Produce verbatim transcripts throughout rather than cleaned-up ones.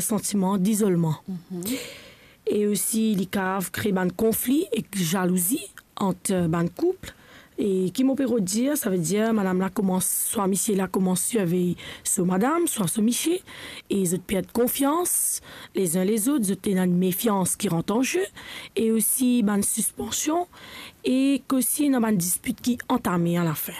santiman dizolman. E osi, li kav kre bann konfli ek zalouzi ant, eh, bann koup. E ki mo pe rod dir, savedir madam la koumans, swa misie la koumans sirvey so madam, swa so misie, e zot perd konfians lezin lezot, zot ena enn mefians ki rant an ze, e osi bann sispansion, e osi ena bann dispit ki antame alafin.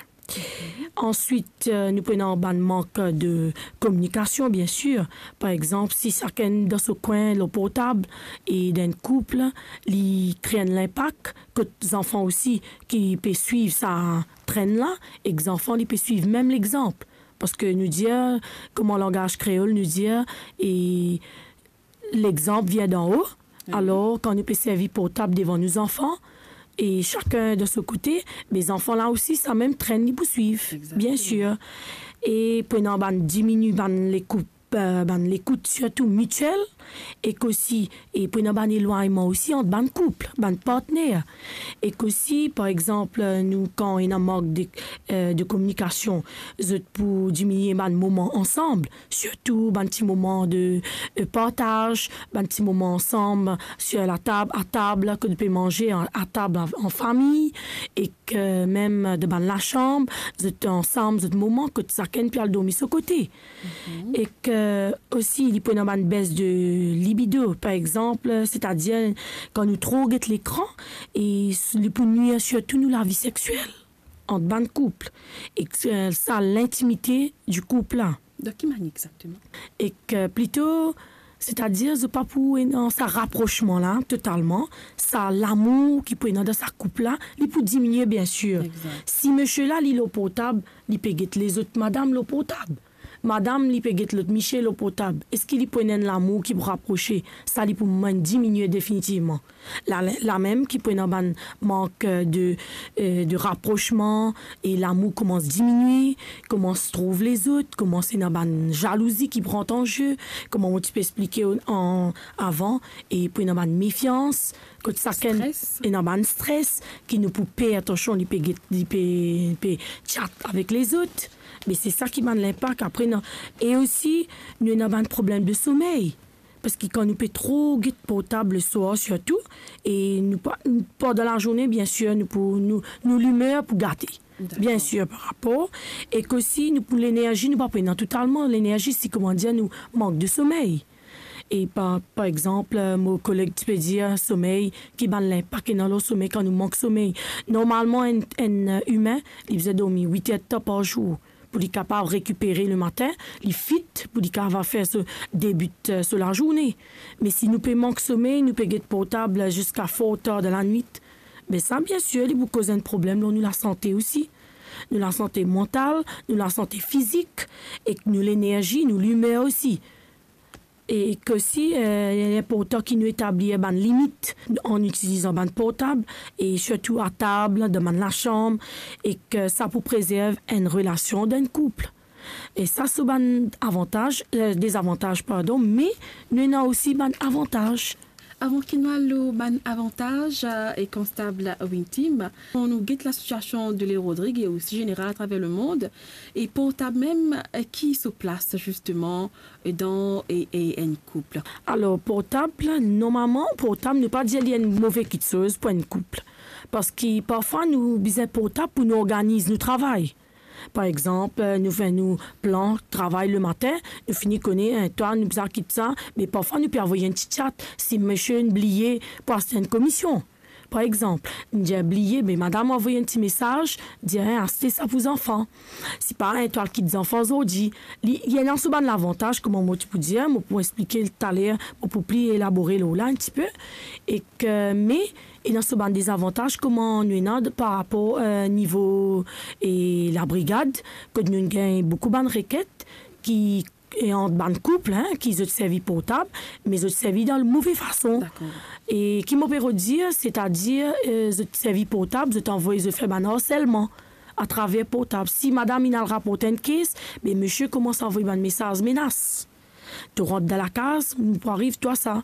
Answit, eh, nou pou ena bann mank de kominikasion, biensir. Par exanp, si sakenn dan so kwin lor portab, e dan enn koup, li kre enn linpak kot zanfan osi ki pe swiv sa trenn la, ek zanfan li pe swiv mem lexanp. Parski nou dir, kouma langaz kreol nou dir, e lexanp vien dan-o. Alor, kan nou pe servi portab devan nou zanfan, e sakenn dan so kote, be zanfan la osi, sa mem trenn li pou swiv, biensir. E pou ena bann dimini bann lekout, eh, bann lekout, sirtou mitiel, ek osi, e pou ena bann elwagnman osi ant bann koup, bann partner. Ek osi, par exanp, nou, kan ena mank de, eh, de kominikasion, zot pou diminie bann moman ansam, sirtou bann ti moman de, eh, partaz, bann ti moman ansam, sir latab, atab, kot pe manze a, atab an, an fami, ek, eh, mem dan bann lasam, zot ansam, zot moman kot sakenn pe al dormi so kote. Ek, eh, osi, li pou ena bann bes de libido, par exanp, setadir kan nou tro get lekran, e s-, li pou nwir sirtou nou lavi sexiel ant bann koup. Ek, eh, sa lintimite di koup la. Dan ki manier exakteman? Ek, eh, plito, setadir zot pa pou ena sa raprosman la totalman, sa lamour ki pou ena dan sa koup la, li pou diminie, biensir. Si misie la, li lor portab, li pe get lezot madam lor portab. Madam, li pe get lot misie lor portab. Eski li pou ena enn lamour ki pou raprose? Sa li pou mem diminie definitivman. La, la mem ki pou ena bann mank, eh, de, eh, de raprosman, e lamour koumans diminie, koumans trouv lezot, koumans ena bann zalouzi ki pran an ze, kouma mo ti pe explike an, avan, e pou ena bann mefians, kot sakenn ena bann stres, ki nou pou per, atansion, li pe get, li pe, pe chat avek lezot. Me se sa ki bann linpak apre, non. E osi, nou ena bann problem de somey. Parski kan nou pe tro get portab leswar sirtou, e nou pa, pandan lazourne, biensir, nou pou, nou, nou limer pou gate. Biensir, par rapor, ek osi nou pou lenerzi, nou pa pou ena totalman lenerzi, si, kouma dir, nou mank de somey. E par, par exanp, mo koleg ti pe dir somey, ki bann linpak ena lor somey kan nou mank somey. Normalman, enn, enn imin, li bizin dormi wit er de tan par zour pou li kapav rekipere lematin, li fit pou li kapav fer so, debit, eh, so lazourne. Me si nou pe mank somey, nou pe get portab ziska for tar dan lanwit, be sa, biensir, li pou koz enn problem lor nou lasante osi. Nou lasante mantal, nou lasante fizik, ek nou lenerzi, nou limer osi. E ki osi, eh, li inportan ki nou etablir bann limit an itilizan bann portab, e sirtou atab, dan bann lasam, e ki sa pou prezerv enn relasion dan enn koup. E sa, se bann avantaz, eh, dezavantaz, pardon, me nou ena osi bann avantaz. Avan ki nou al lor bann avantaz, eh, e konstab Wintim, kan nou get lasitiasion de l'île Rodrigues e osi zeneral atraver lemond, e portab mem, eh, ki so plas, zisteman, dan, e, e enn koup? Alor, portab, normalman, portab, nou pa dir li enn move kiksoz pou enn koup. Parski parfwa nou bizin portab pou nou organiz nou travay. Par exanp, nou fer nou plan travay lematin, nou fini kone, eh, twa, nou bizin kit sa, me parfwa nou pe avoy enn ti chat, si misie inn bliye pou aste enn komision. Par exanp, nou dir bliye, me madam avoy enn ti mesaz, dir, eh, aste sa pou zanfan. Sipa, eh, twa al kit zanfan zordi. Li, li ena so bann lavantaz, kouma mo ti pou dir, mo pou explike taler, mo pou pli elabore lor la enn tipe. Ek, me, ena so bann dezavantaz, kouma nou ena de, par rapor, eh, nivo, e labrigad, kot nou gagn boukou bann rekent ki, e ant bann koup, hein, ki zot servi portab, me zot servi dan move fason. Dakor. E ki mo pe rod dir, setadir, eh, zot servi portab, zot anvoy zot fer bann arselman atraver portab. Si madam inn al raport enn kes, be misie koumans anvoy bann mesaz menas. To rant dan lakaz, nou pou ariv twa sa.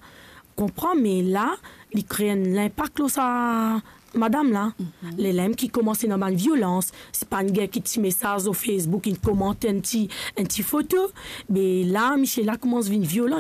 Konpran, me la, li kre enn linpak lor sa madam la. Lerla mem ki koumans ena bann violans, sipa enn ger ki ti mesaz lor Facebook, inn komant enn ti, enn ti foto, be la, misie la koumans vinn violan.